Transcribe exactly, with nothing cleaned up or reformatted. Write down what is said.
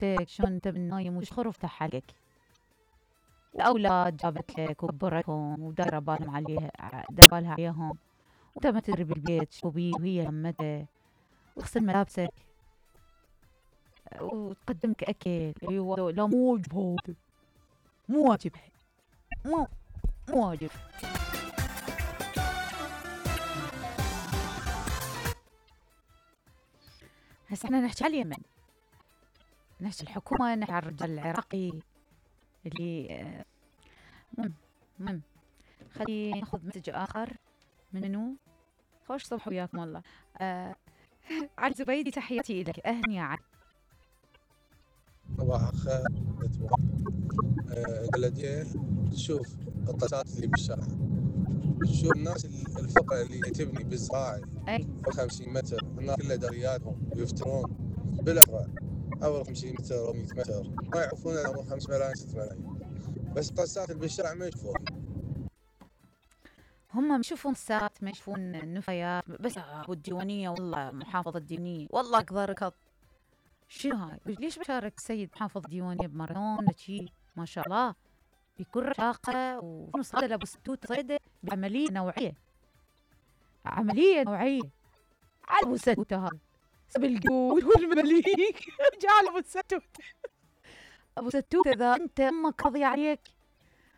شفتك شلون انت بالنايم وش خرفتها عليك. الاولاد جابت لك وكبرتهم ودايره بالهم عليها دايره بالها عليهم، وانت ما تدري بالبيت شو بيه وهي همته، وتغسل ملابسك وتقدمك اكل. ايوه لا مو واجب هذا، مو واجب، مو مو واجب. هسه احنا نحكي على اليمن، نحكي الحكومة، نحكي على الرجال العراقي اللي مم مم خلينا ناخذ مسج آخر. منو؟ خوش صبح وياكم والله. آه علي زبيدي تحياتي لك. أهلا يا علي. صباح الخير. بلديه تشوف القطارات اللي بالشارع، شوف الناس الفقراء اللي تبني بالزراعي فوق خمسين متر، الناس كلها درياتهم ويفترون بالأسرع أول خمسين متر أو مئة متر، ما يعرفون أول خمس ملايين ست ملايين، بس القطارات اللي بالشارع ما يشوفون. هم ما يشوفون سات، ما يشوفون نفايات، بس والديوانية والله محافظة الديوانية والله أقدر ركض. شنو هاي؟ ليش بشارك السيد محافظ الديوانية بمارادونا شي ما شاء الله بكل رشاقة وصيدة أبو ستوت صيدة بعملية نوعية، عملية نوعية على أبو ستوت هذا سب الجود والمليك جعل أبو ستوت. أبو ستوت إذا أنت أمك قضي عليك